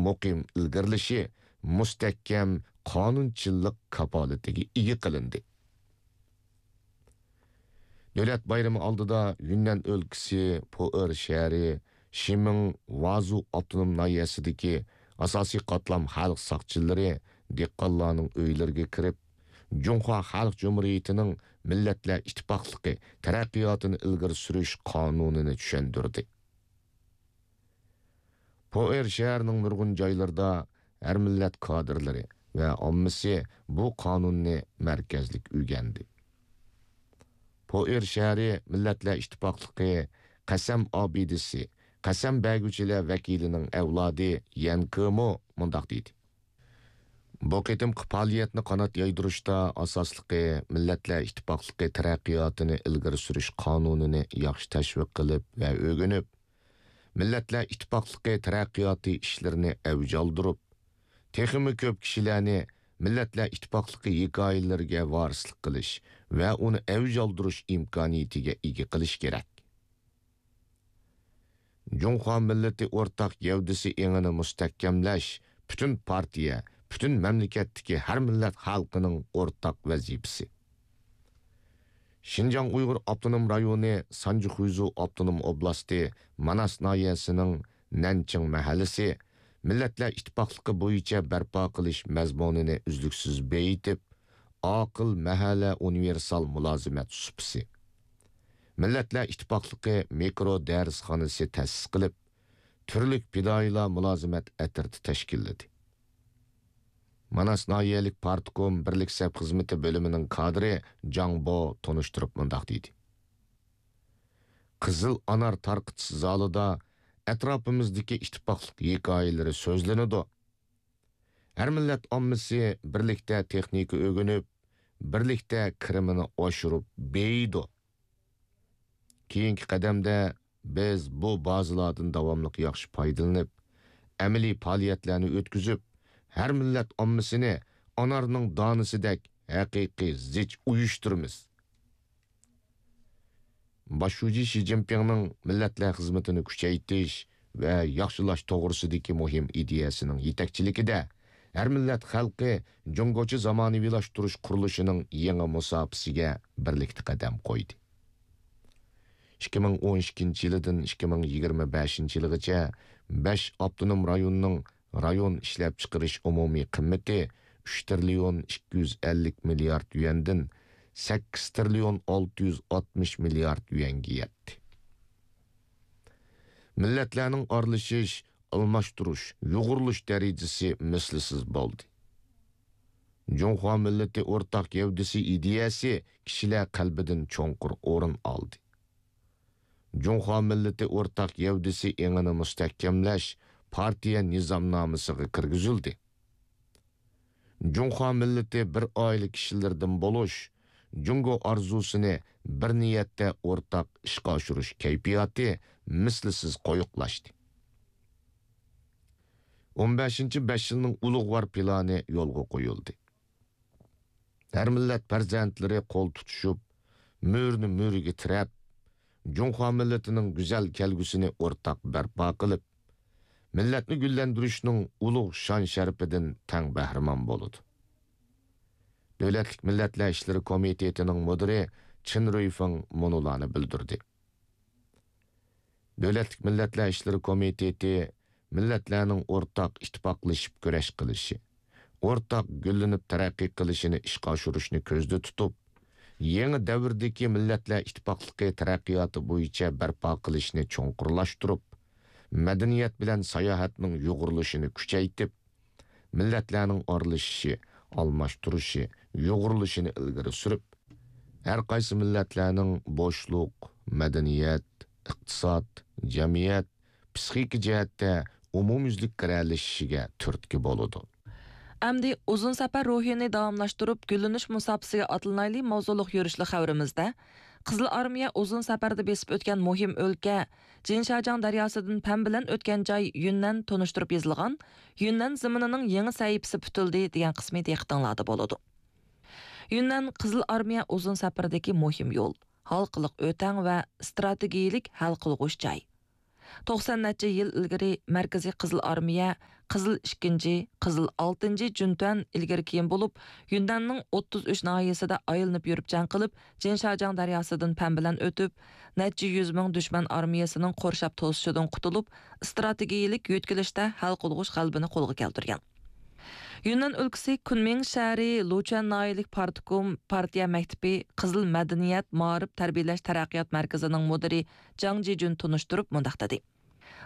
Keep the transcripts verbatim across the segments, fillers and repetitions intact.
مۇقىم ئىلگىرىلىشى مۇستەھكەم قانۇنچىللىق كاپالىتىگە ئىگە قىلىندى. دۆلەت بايرىمى ئالدىدا يۈننەن ئۆلكىسى پوئېر شەھىرى شىمىڭ ۋازۇ ئاپتونوم ناھىيەسىدىكى ئاساسىي قاتلام خەلق ساقچىلىرى دېھقانلارنىڭ ئۆيلىرىگە كىرىپ، جۇڭخۇا خەلق جۇمھۇرىيىتىنىڭ مىللەتلەر ئىتتىپاقلىقى تەرەققىياتىنى ئىلگىرى سۈرۈش قانۇنىنى چۈشەندۈردى. پوئېر شەھىرىنىڭ نۇرغۇن جايلىرىدا ھەر مىللەت كادىرلىرى ۋە ئاممىسى بۇ قانۇننى مەركەزلىك ئۆگەندى. پوئېر شەھىرى مىللەتلەر ئىتتىپاقلىقى قەسەم ئابىدىسى، قەسەم بەرگۈچىلەر ۋەكىلىنىڭ ئەۋلادى يەن كېمۇ مۇنداق دېدى: بۇ قېتىمقى پائالىيەتنى قانات يايدۇرۇشتا ئاساسلىقى مىللەتلەر ئىتتىپاقلىقى تەرەققىياتىنى ئىلگىرى سۈرۈش قانۇنىنى ياخشى تەشۋىق قىلىپ ۋە ئۆگىنىپ، مىللەتلەر ئىتتىپاقلىقى تەرەققىياتى ئىشلىرىنى ئەۋج ئالدۇرۇپ، تېخىمۇ كۆپ كىشىلەرنى مىللەتلەر ئىتتىپاقلىقى ھېكايىلىرىگە ۋارىسلىق قىلىش ۋە ئۇنى ئەۋج ئالدۇرۇش ئىمكانىيىتىگە ئىگە قىلىش كېرەك. جۇڭخۇا مىللىتى ئورتاق گەۋدىسى ئېڭىنى مۇستەھكەملەش پۈتۈن پارتىيە، پۈتۈن مەملىكەتتىكى ھەر مىللەت خەلقىنىڭ ئورتاق ۋەزىپىسى. شىنجاڭ ئۇيغۇر ئاپتونوم رايونى، سانجى خۇيزۇ ئاپتونوم ئوبلاستى، ماناس ناھىيەسىنىڭ نەنچىڭ مەھەللىسى مىللەتلەر ئىتتىپاقلىقى بويىچە بەرپا قىلىش مەزمۇنىنى ئۈزلۈكسىز بېيىتىپ، ئاقىل مەھەللە ئۇنىۋېرسال مۇلازىمەت سۇپىسى، مىللەتلەر ئىتتىپاقلىقى مىكرو دەرسخانىسى تەسىس قىلىپ، تۈرلۈك پىدائىيلار مۇلازىمەت ئەترىتى تەشكىللىدى. ماناس ناھىيەلىك پارتكوم بىرلىك سەپ خىزمىتى بۆلۈمىنىڭ كادىرى جاڭ بو تونۇشتۇرۇپ مۇنداق دېدى: قىزىل ئانار تارقىتىش زالىدا ئەتراپىمىزدىكى ئىتتىپاقلىق ھېكايىلىرى سۆزلىنىدۇ. ھەر مىللەت ئاممىسى بىرلىكتە تېخنىكا ئۆگىنىپ، بىرلىكتە كىرىمىنى ئاشۇرۇپ بېيىيدۇ. كېيىنكى قەدەمدە بىز بۇ بازىلاردىن داۋاملىق ياخشى پايدىلىنىپ، ئەمەلىي پائالىيەتلەرنى ئۆتكۈزۈپ، ھەر مىللەت ئاممىسىنى ئانارنىڭ دانىسىدەك ھەقىقىي زىچ ئۇيۇشتۇرىمىز. باش شۇجى شى جىنپىڭنىڭ مىللەتلەر خىزمىتىنى كۈچەيتىش ۋە ياخشىلاش توغرىسىدىكى مۇھىم ئىدىيەسىنىڭ يېتەكچىلىكىدە، ھەر مىللەت خەلقى جۇڭگوچە زامانىۋىلاشتۇرۇش قۇرۇلۇشىنىڭ يېڭى مۇساپىسىگە بىرلىكتە قەدەم قويدى. ئىككى مىڭ ئون ئىككىنچى يىلىدىن ئىككى مىڭ يىگىرمە بەشىنچى يىلىغىچە بەش ئاپتونوم رايوننىڭ رايون ئىشلەپچىقىرىش ئومۇمىي قىممىتى ئۈچ تىرىليون ئىككى يۈز ئەللىك مىليارد يۈەندىن سەككىز تىرىليون ئالتە يۈز ئاتمىش مىليارد يۈەنگە يەتتى. مىللەتلەرنىڭ ئارىلىشىش، ئالماشتۇرۇش، يۇغۇرۇلۇش دەرىجىسى مىسلىسىز بولدى. جۇڭخۇا مىللىتى ئورتاق گەۋدىسى ئىدىيەسى كىشىلەر قەلبىدىن چوڭقۇر ئورۇن ئالدى. جۇڭخۇا مىللىتى ئورتاق گەۋدىسى ئېڭىنى مۇستەھكەملەش پارتىيە نىزامنامىسىغا كىرگۈزۈلدى. جۇڭخۇا مىللىتى بىر ئائىلە كىشىلىرىدىن بولۇش، جۇڭگو ئارزۇسىنى بىر نىيەتتە ئورتاق ئىشقا ئاشۇرۇش كەيپىياتى مىسلىسىز قويۇقلاشتى. ئون بەشىنچى بەش يىلنىڭ ئۇلۇغۋار پىلانى يولغا قويۇلدى. ھەر مىللەت پەرزەنتلىرى قول تۇتۇشۇپ، مۈرىنى مۈرىگە تىرەپ، جۇڭخۇا مىللىتىنىڭ گۈزەل كەلگۈسىنى ئورتاق بەرپا قىلىپ، مىللەتنى گۈللەندۈرۈشنىڭ ئۇلۇغ شان-شەرىپىدىن تەڭ بەھرىمەن بولىدۇ. دۆلەتلىك مىللەتلەر ئىشلىرى كومىتېتىنىڭ مۇدىرى چېن رۇيفېڭ مۇنۇلارنى بىلدۈردى. دۆلەتلىك مىللەتلەر ئىشلىرى كومىتېتى مىللەتلەرنىڭ ئورتاق ئىتتىپاقلىشىپ كۈرەش قىلىشى، ئورتاق گۈللىنىپ تەرەققىي قىلىشىنى ئىشقا ئاشۇرۇشنى كۆزدە تۇتۇپ، يېڭى دەۋردىكى مىللەتلەر ئىتتىپاقلىقى تەرەققىياتى بويىچە بەرپا قىلىشنى چوڭقۇرلاشتۇرۇپ، مەدەنىيەت بىلەن ساياھەتنىڭ يۇغۇرۇلۇشىنى كۈچەيتىپ، مىللەتلەرنىڭ ئارىلىشىشى، ئالماشتۇرۇشى، يۇغۇرۇلۇشىنى ئىلگىرى سۈرۈپ، ھەر قايسى مىللەتلەرنىڭ بوشلۇق، مەدەنىيەت، ئىقتىساد، جەمئىيەت، پسىخىكا جەھەتتە ئومۇميۈزلۈك گىرەلىشىشىگە تۈرتكە بولىدۇ. ئەمدى ئۇزۇن سەپەر روھىنى داۋاملاشتۇرۇپ، گۈللىنىش مۇساپىسىگە ئاتلىنايلى ماۋزۇلۇق يۈرۈشلۈك خەۋىرىمىزدە، قىزىل ئارمىيە ئۇزۇن سەپەردە بېسىپ ئۆتكەن مۇھىم ئۆلكە، جىنشاجياڭ دەرياسىدىن پەن بىلەن ئۆتكەن جاي يۈننەن تونۇشتۇرۇپ يېزىلغان يۈننەن زېمىنىنىڭ يېڭى سەھىپىسى پۈتۈلدى دېگەن قىسمى دىققىتىڭلاردا بولىدۇ. يۈننەن قىزىل ئارمىيە ئۇزۇن سەپىرىدىكى مۇھىم يول، ھالقىلىق ئۆتەڭ ۋە ئىستراتېگىيىلىك ھەل قىلغۇچ جاي. توقسان نەچچە يىل ئىلگىرى مەركىزىي قىزىل ئارمىيە قىزىل ئىككىنچى، قىزىل ئالتىنچى جۈنتۈەن ئىلگىرى كېيىن بولۇپ، يۈننەننىڭ ئوتتۇز ئۈچ ناھىيەسىدە ئايلىنىپ يۈرۈپ جەڭ قىلىپ، جىنشاجياڭ دەرياسىدىن پەن بىلەن ئۆتۈپ، نەچچە يۈز مىڭ دۈشمەن ئارمىيەسىنىڭ قورشاپ توسۇشىدىن قۇتۇلۇپ، ئىستراتېگىيىلىك يۆتكىلىشتە ھەل قىلغۇچ غەلىبىنى قولغا كەلتۈرگەن. يۈننەن ئۆلكىسى كۈنمىڭ شەھىرى لۇچۈەن ناھىيەلىك پارتكوم پارتىيە مەكتىپى قىزىل مەدەنىيەت، مائارىپ، تەربىيەلەش تەرەققىيات مەركىزىنىڭ مۇدىرى جاڭ جىجۈن تونۇشتۇرۇپ مۇنداق دېدى: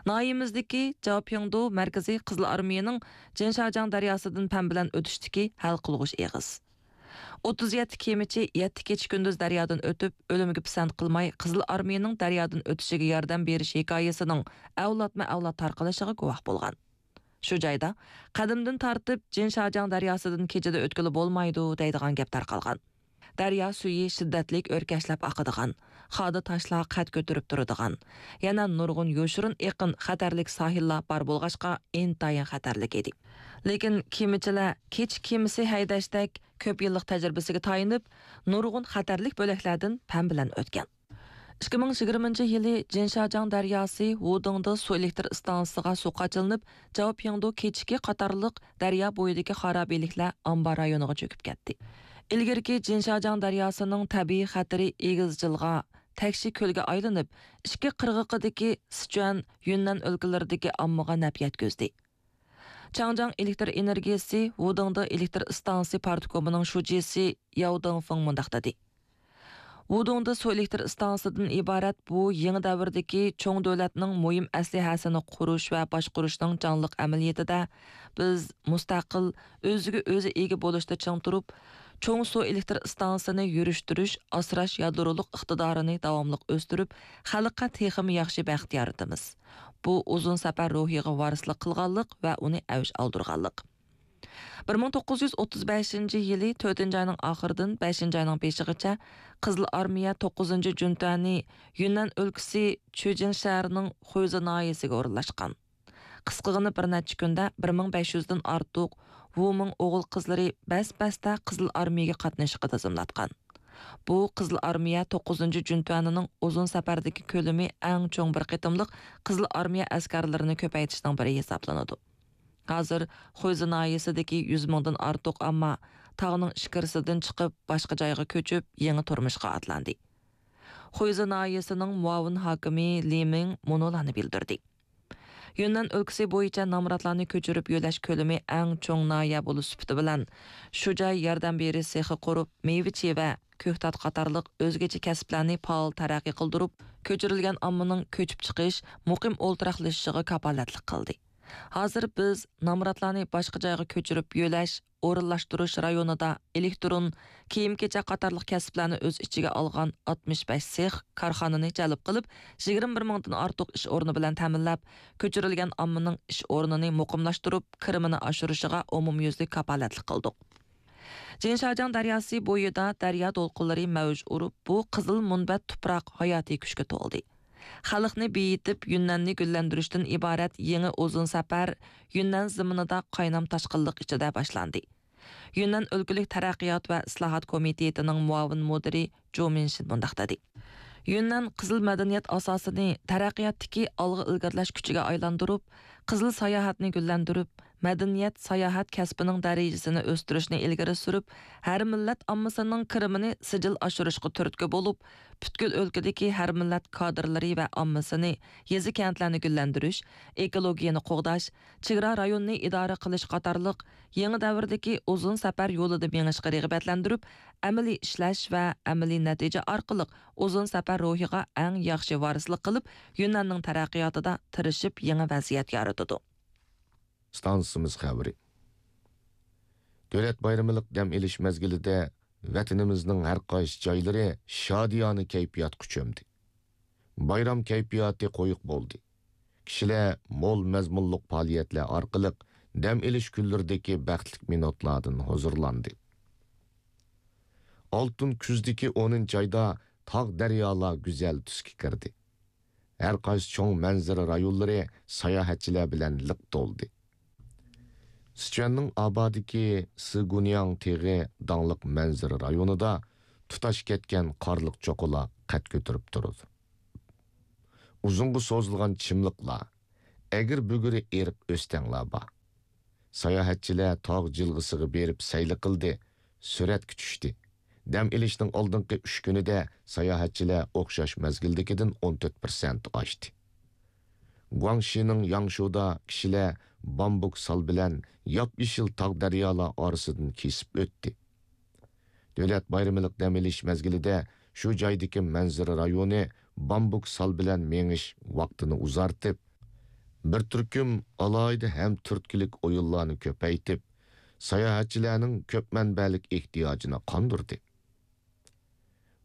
ناھىيەمىزدىكى جاۋپياڭدۇ مەركىزى قىزىل ئارمىيەنىڭ جىنشاجياڭ دەرياسىدىن پەن بىلەن ئۆتۈشتىكى ھەل قىلغۇچ ئېغىز. ئوتتۇز يەتتە كېمىچى يەتتە كېچە كۈندۈز دەريادىن ئۆتۈپ، ئۆلۈمگە پىسەنت قىلماي، قىزىل ئارمىيەنىڭ دەريادىن ئۆتۈشىگە ياردەم بېرىش ھېكايىسىنىڭ ئەۋلادمۇ ئەۋلاد تارقىلىشىغا گۇۋاھ بولغان. شۇ جايدا قەدىمدىن تارتىپ جىنشاجياڭ دەرياسىدىن كېچىدە ئۆتكىلى بولمايدۇ دەيدىغان گەپ تارقالغان. دەريا سۈيى شىددەتلىك ئۆركەشلەپ ئاقىدىغان، خادا تاشلار قەد كۆتۈرۈپ تۇرىدىغان، يەنە نۇرغۇن يوشۇرۇن ئېقىن، خەتەرلىك ساھىللار بار بولغاچقا، ئىنتايىن خەتەرلىك ئىدى. لېكىن كېمىچىلەر كېچە كېمىسى ھەيدەشتەك كۆپ يىللىق تەجرىبىسىگە تايىنىپ، نۇرغۇن خەتەرلىك بۆلەكلەردىن پەن بىلەن ئۆتكەن. ئىككى مىڭ يىگىرمىنچى يىلى جىنشاجياڭ دەرياسى ۋۇدىڭدې سۇ ئېلېكتر ئىستانسىسىغا سۇ قاچىلىنىپ، جاۋپياڭدۇ كېچىكى قاتارلىق دەريا بويىدىكى خارابىلىكلەر ئامبار رايونىغا چۆكۈپ كەتتى. ئىلگىرىكى جىنشاجياڭ دەرياسىنىڭ تەبىئىي خەتىرى ئېگىز جىلغا، تەكشى كۆلگە ئايلىنىپ، ئىككى قىرغىقىدىكى سىچۈەن، يۈننەن ئۆلكىلىرىدىكى ئاممىغا نەپ يەتكۈزدى. چاڭجياڭ ئېلېكتر ئېنېرگىيىسى ۋۇدىڭدې ئېلېكتر ئىستانسىسى پارتكومىنىڭ شۇجىسى ياۋ دېڭفېڭ مۇنداق دېدى: ۋۇدۇڭدې سۇ ئېلېكتر ئىستانسىسىدىن ئىبارەت بۇ يېڭى دەۋردىكى چوڭ دۆلەتنىڭ مۇھىم ئەسلىھەسىنى قۇرۇش ۋە باشقۇرۇشنىڭ جانلىق ئەمەلىيىتىدە، بىز مۇستەقىل، ئۆزىگە ئۆزى ئىگە بولۇشتا چىڭ تۇرۇپ، چوڭ سۇ ئېلېكتر ئىستانسىسىنى يۈرۈشتۈرۈش، ئاسراش يادرولۇق ئىقتىدارىنى داۋاملىق ئۆستۈرۈپ، خەلققە تېخىمۇ ياخشى بەخت يارىتىمىز. بۇ ئۇزۇن سەپەر روھىغا ۋارىسلىق قىلغانلىق ۋە ئۇنى ئەۋج ئالدۇرغانلىق. بىر مىڭ توققۇز يۈز ئوتتۇز بەشىنچى يىلى تۆتىنچى ئاينىڭ ئاخىرىدىن بەشىنچى ئاينىڭ بېشىغىچە قىزىل ئارمىيە توققۇزىنچى جۈنتۈەنى يۈننەن ئۆلكىسى چۈجىن شەھىرىنىڭ خۇيزې ناھىيەسىگە ئورۇنلاشقان. قىسقىغىنە بىر نەچچە كۈندە بىر مىڭ بەش يۈزدىن ئارتۇق ۋۇمىڭ ئوغۇل-قىزلىرى بەس-بەستە قىزىل ئارمىيەگە قاتنىشىشقا تىزىملاتقان. بۇ قىزىل ئارمىيە توققۇزىنچى جۈنتۈەنىنىڭ ئۇزۇن سەپەردىكى كۆلىمى ئەڭ چوڭ بىر قېتىملىق قىزىل ئارمىيە ئەسكەرلىرىنى كۆپەيتىشنىڭ بىرى ھېسابلىنىدۇ. ھازىر خۇيزې ناھىيەسىدىكى يۈز مىڭدىن ئارتۇق ئامما تاغنىڭ ئىچكىرىسىدىن چىقىپ، باشقا جايغا كۆچۈپ، يېڭى تۇرمۇشقا ئاتلاندى. خۇيزې ناھىيەسىنىڭ مۇئاۋىن ھاكىمى لى مىڭ مۇنۇلارنى بىلدۈردى: يۈننەن ئۆلكىسى بويىچە نامراتلارنى كۆچۈرۈپ يۆلەش كۆلىمى ئەڭ چوڭ ناھىيە بولۇش سۈپىتى بىلەن، شۇ جاي ياردەم بېرىش سېخى قۇرۇپ، مېۋە-چىۋە، كۆكتات قاتارلىق ئۆزگىچە كەسىپلەرنى پائال تەرەققىي قىلدۇرۇپ، كۆچۈرۈلگەن ئاممىنىڭ كۆچۈپ چىقىش، مۇقىم ئولتۇراقلىشىشىغا كاپالەتلىك قىلدى. ھازىر بىز نامراتلارنى باشقا جايغا كۆچۈرۈپ يۆلەش، ئورۇنلاشتۇرۇش رايونىدا ئېلېكترون، كىيىم-كېچەك قاتارلىق كەسىپلەرنى ئۆز ئىچىگە ئالغان ئاتمىش بەش سېخ، كارخانىنى جەلپ قىلىپ، يىگىرمە بىر مىڭدىن ئارتۇق ئىش ئورنى بىلەن تەمىنلەپ، كۆچۈرۈلگەن ئاممىنىڭ ئىش ئورنىنى مۇقىملاشتۇرۇپ، كىرىمىنى ئاشۇرۇشىغا ئومۇميۈزلۈك كاپالەتلىك قىلدۇق. جىنشاجياڭ دەرياسى بويىدا دەريا دولقۇنلىرى مەۋج ئۇرۇپ، بۇ قىزىل مۇنبەت تۇپراق ھاياتىي كۈچكە تولدى. خەلقنى بېيىتىپ، يۈننەننى گۈللەندۈرۈشتىن ئىبارەت يېڭى ئۇزۇن سەپەر يۈننەن زېمىنىدا قاينام تاشقىنلىق ئىچىدە باشلاندى. يۈننەن ئۆلكىلىك تەرەققىيات ۋە ئىسلاھات كومىتېتىنىڭ مۇئاۋىن مۇدىرى جۇ مىنشىن مۇنداق دېدى: يۈننەن قىزىل مەدەنىيەت ئاساسىنى تەرەققىياتتىكى ئالغا ئىلگىرىلەش كۈچىگە ئايلاندۇرۇپ، قىزىل ساياھەتنى گۈللەندۈرۈپ، مەدەنىيەت، ساياھەت كەسپىنىڭ دەرىجىسىنى ئۆستۈرۈشنى ئىلگىرى سۈرۈپ، ھەر مىللەت ئاممىسىنىڭ كىرىمىنى سىجىل ئاشۇرۇشقا تۈرتكە بولۇپ، پۈتكۈل ئۆلكىدىكى ھەر مىللەت كادىرلىرى ۋە ئاممىسىنى يېزا-كەنتلەرنى گۈللەندۈرۈش، ئېكولوگىيەنى قوغداش، چېگرا رايونىنى ئىدارە قىلىش قاتارلىق يېڭى دەۋردىكى ئۇزۇن سەپەر يولىدا مېڭىشقا رىغبەتلەندۈرۈپ، ئەمەلىي ئىشلەش ۋە ئەمەلىي نەتىجە ئارقىلىق ئۇزۇن سەپەر روھىغا ئەڭ ياخشى ۋارىسلىق قىلىپ، يۈننەننىڭ تەرەققىياتىدا تىرىشىپ يېڭى ۋەزىيەت يارىتىدۇ. ئىستانسىمىز خەۋىرى. دۆلەت بايرىملىق دەم ئېلىش مەزگىلىدە ۋەتىنىمىزنىڭ ھەر قايسى جايلىرى شادىيانە كەيپىياتقا چۆمدى. بايرام كەيپىياتى قويۇق بولدى. كىشىلەر مول مەزمۇنلۇق پائالىيەتلەر ئارقىلىق دەم ئېلىش كۈنلىرىدىكى بەختلىك مىنۇتلاردىن ھۇزۇرلاندى. ئالتۇن كۈزدىكى ئونىنچى ئايدا تاغ، دەريالار گۈزەل تۈسكە كىردى. ھەر قايسى چوڭ مەنزىرە رايونلىرى ساياھەتچىلەر بىلەن لىق تولدى. سىچۈەننىڭ ئابادىكى سىگۇنياڭ تېغى داڭلىق مەنزىرە رايونىدا تۇتاش كەتكەن قارلىق چوققىلار قەد كۆتۈرۈپ تۇرىدۇ. ئۇزۇنغا سوزۇلغان چىملىقلار، ئەگرى-بۈگرى ئېرىق ئۆستەڭلار بار. ساياھەتچىلەر تاغ جىلغىسىغا بېرىپ سەيلە قىلدى، سۈرەتكە چۈشتى. دەم ئېلىشنىڭ ئالدىنقى ئۈچ كۈنىدە ساياھەتچىلەر ئوخشاش مەزگىلدىكىدىن ئون تۆت پىرسەنت ئاشتى. گۇاڭشىنىڭ ياڭشۇدا كىشىلەر بامبۇك سال بىلەن ياپيېشىل تاغ دەريالار ئارىسىدىن كېسىپ ئۆتتى. دۆلەت بايرىملىق دەم ئېلىش مەزگىلىدە شۇ جايدىكى مەنزىرە رايونى بامبۇك سال بىلەن مېڭىش ۋاقتىنى ئۇزارتىپ، بىر تۈركۈم ئالاھىدە ھەم تۈرتكىلىك ئويۇنلارنى كۆپەيتىپ، ساياھەتچىلەرنىڭ كۆپ مەنبەلىك ئېھتىياجىنى قاندۇردى.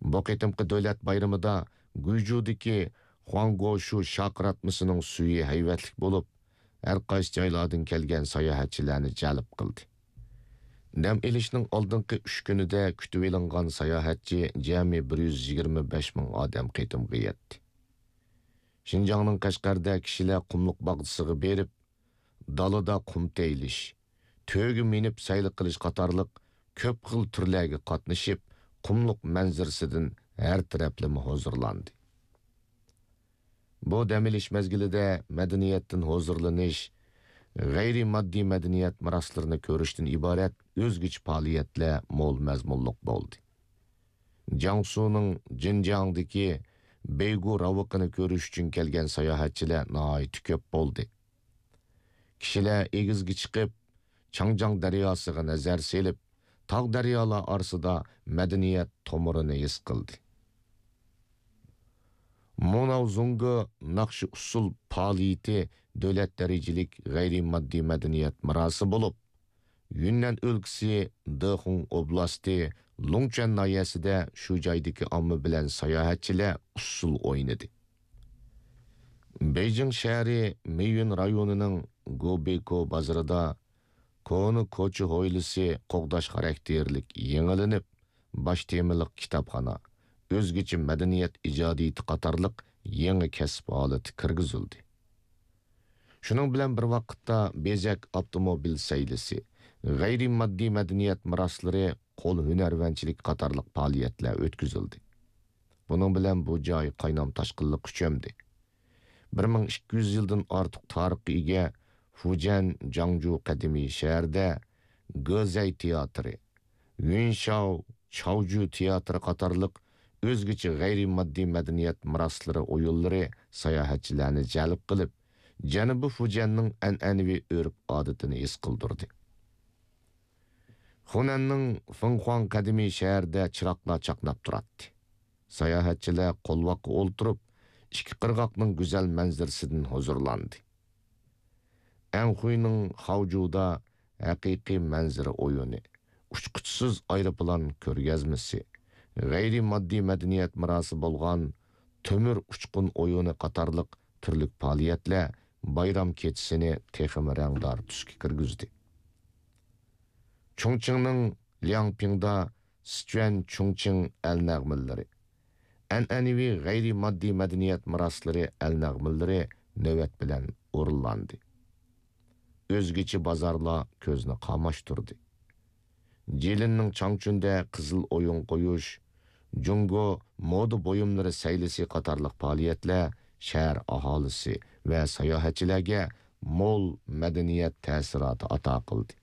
بۇ قېتىمقى دۆلەت بايرىمىدا گۇيجۇدىكى خۇاڭگوشۇ شاقىراتمىسىنىڭ سۈيى ھەيۋەتلىك بولۇپ، ھەر قايسى جايلاردىن كەلگەن ساياھەتچىلەرنى جەلپ قىلدى. دەم ئېلىشنىڭ ئالدىنقى ئۈچ كۈنىدە كۈتۈۋېلىنغان ساياھەتچى جەمئىي بىر يۈز يىگىرمە بەش مىڭ ئادەم قېتىمغا يەتتى. شىنجاڭنىڭ قەشقەردە كىشىلەر قۇملۇق باغچىسىغا بېرىپ، دالىدا قۇم تېيىلىش، تۆگە مىنىپ سەيلە قىلىش قاتارلىق كۆپ خىل تۈرلەرگە قاتنىشىپ، قۇملۇق مەنزىرىسىدىن ھەر تەرەپلىمە ھۇزۇرلاندى. بۇ دەم ئېلىش مەزگىلىدە مەدەنىيەتتىن ھۇزۇرلىنىش، غەيرىي ماددىي مەدەنىيەت مىراسلىرىنى كۆرۈشتىن ئىبارەت ئۆزگىچە پائالىيەتلەر مول مەزمۇنلۇق بولدى. جياڭسۇنىڭ جىنجياڭدىكى بەيگۇ راۋىقىنى كۆرۈش ئۈچۈن كەلگەن ساياھەتچىلەر ناھايىتى كۆپ بولدى. كىشىلەر ئېگىزگە چىقىپ، چاڭجياڭ دەرياسىغا نەزەر سېلىپ، تاغ دەريالار ئارىسىدا مەدەنىيەت تومۇرىنى ھېس قىلدى. موناۋ زۇڭگې ناخشا ئۇسسۇل پائالىيىتى دۆلەت دەرىجىلىك غەيرىي ماددىي مەدەنىيەت مىراسى بولۇپ، يۈننەن ئۆلكىسى دېخۇڭ ئوبلاستى لۇڭچۈەن ناھىيەسىدە شۇ جايدىكى ئامما بىلەن ساياھەتچىلەر ئۇسسۇل ئوينىدى. بېيجىڭ شەھىرى مېيۈن رايونىنىڭ گوبېيكو بازىرىدا كونا كوچا ھويلىسى قوغداش خاراكتېرلىك يېڭىلىنىپ، باش تېمىلىق كىتابخانا، ئۆزگىچە مەدەنىيەت ئىجادىيىتى قاتارلىق يېڭى كەسىپ ھالىتى كىرگۈزۈلدى. شۇنىڭ بىلەن بىر ۋاقىتتا، بېزەك ئاپتوموبىل سەيلىسى، غەيرىي ماددىي مەدەنىيەت مىراسلىرى، قول ھۈنەرۋەنچىلىكى قاتارلىق پائالىيەتلەر ئۆتكۈزۈلدى. بۇنىڭ بىلەن بۇ جاي قاينام تاشقىنلىققا چۆمدى. بىر مىڭ ئىككى يۈز يىلدىن ئارتۇق تارىخقا ئىگە فۇجيەن جاڭجۇ قەدىمىي شەھىرىدە گېزەي تىياتىرى، يۈنشاۋ چاۋجۈ تىياتىرى قاتارلىق ئۆزگىچە غەيرىي ماددىي مەدەنىيەت مىراسلىرى ئويۇنلىرى ساياھەتچىلەرنى جەلپ قىلىپ، جەنۇبىي فۇجيەننىڭ ئەنئەنىۋى ئۆرپ-ئادىتىنى ھېس قىلدۇردى. خۇنەننىڭ فېڭخۇاڭ قەدىمىي شەھىرىدە چىراغلار چاقناپ تۇراتتى. ساياھەتچىلەر قولۋاققا ئولتۇرۇپ، ئىككى قىرغاقنىڭ گۈزەل مەنزىرىسىدىن ھۇزۇرلاندى. ئەنخۇينىڭ خاۋجۇدا ھەقىقىي مەنزىرە ئويۇنى، ئۇچقۇچىسىز ئايروپىلان كۆرگەزمىسى، غەيرىي ماددىي مەدەنىيەت مىراسى بولغان تۆمۈر ئۇچقۇن ئويۇنى قاتارلىق تۈرلۈك پائالىيەتلەر بايرام كېچىسىنى تېخىمۇ رەڭدار تۈسكە كىرگۈزدى. چۇڭچىڭنىڭ لياڭپىڭدا سىچۈەن چۇڭچىڭ ئەل نەغمىلىرى، ئەنئەنىۋى غەيرىي ماددىي مەدەنىيەت مىراسلىرى ئەل نەغمىلىرى نۆۋەت بىلەن ئورۇنلاندى. ئۆزگىچە بازارلار كۆزنى قاماشتۇردى. جىلىننىڭ چاڭچۈندە قىزىل ئويۇن قويۇش، جۇڭگو مودا بۇيۇملىرى سەيلىسى قاتارلىق پائالىيەتلەر شەھەر ئاھالىسى ۋە ساياھەتچىلەرگە مول مەدەنىيەت تەسىراتى ئاتا قىلدى.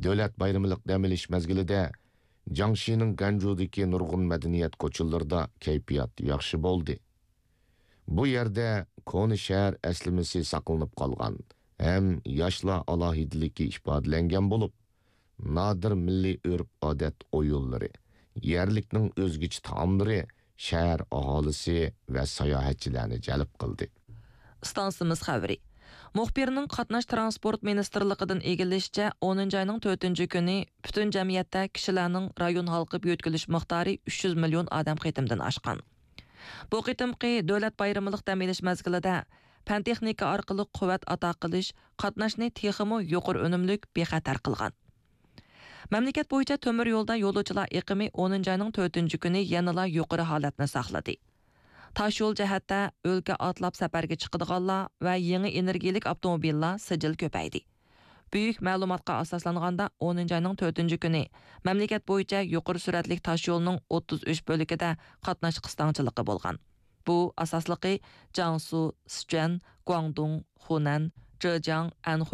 دۆلەت بايرىملىق دەم ئېلىش مەزگىلىدە جياڭشىنىڭ گەنجۇدىكى نۇرغۇن مەدەنىيەت كوچىلىرىدا كەيپىيات ياخشى بولدى. بۇ يەردە كونا شەھەر ئەسلىمىسى ساقلىنىپ قالغان ھەم ياشلار ئالاھىدىلىكى ئىپادىلەنگەن بولۇپ، نادىر مىللىي ئۆرپ-ئادەت ئويۇنلىرى، يەرلىكنىڭ ئۆزگىچە تائاملىرى شەھەر ئاھالىسى ۋە ساياھەتچىلەرنى جەلپ قىلدى. ئىستانسىمىز خەۋىرى. مۇخبىرنىڭ قاتناش تىرانسپورت مىنىستىرلىقىدىن ئىگىلىشىچە، ئونىنچى ئاينىڭ تۆتىنچى كۈنى پۈتۈن جەمئىيەتتە كىشىلەرنىڭ رايون ھالقىپ يۆتكىلىش مىقدارى ئۈچ يۈز مىليون ئادەم قېتىمدىن ئاشقان. بۇ قېتىمقى دۆلەت بايرىملىق دەم ئېلىش مەزگىلىدە پەن-تېخنىكا ئارقىلىق قۇۋۋەت ئاتا قىلىش قاتناشنى تېخىمۇ يۇقىرى ئۈنۈملۈك، بىخەتەر قىلغان. مەملىكەت بويىچە تۆمۈر يولدا يولۇچىلار ئېقىمى ئونىنچى ئاينىڭ تۆتىنچى كۈنى يەنىلا يۇقىرى ھالەتنى ساقلىدى. تاشيول جەھەتتە ئۆلكە ئاتلاپ سەپەرگە چىقىدىغانلار ۋە يېڭى ئېنېرگىيەلىك ئاپتوموبىللار سىجىل كۆپەيدى. بۈيۈك مەلۇماتقا ئاساسلانغاندا، ئونىنچى ئاينىڭ تۆتىنچى كۈنى مەملىكەت بويىچە يۇقىرى سۈرئەتلىك تاشيولنىڭ ئوتتۇز ئۈچ بۆلىكىدە قاتناش قىستاڭچىلىقى بولغان. بۇ ئاساسلىقى جياڭسۇ، سىچۈەن، گۇاڭدۇڭ، خۇنەن، جېجياڭ، ئەنخۇي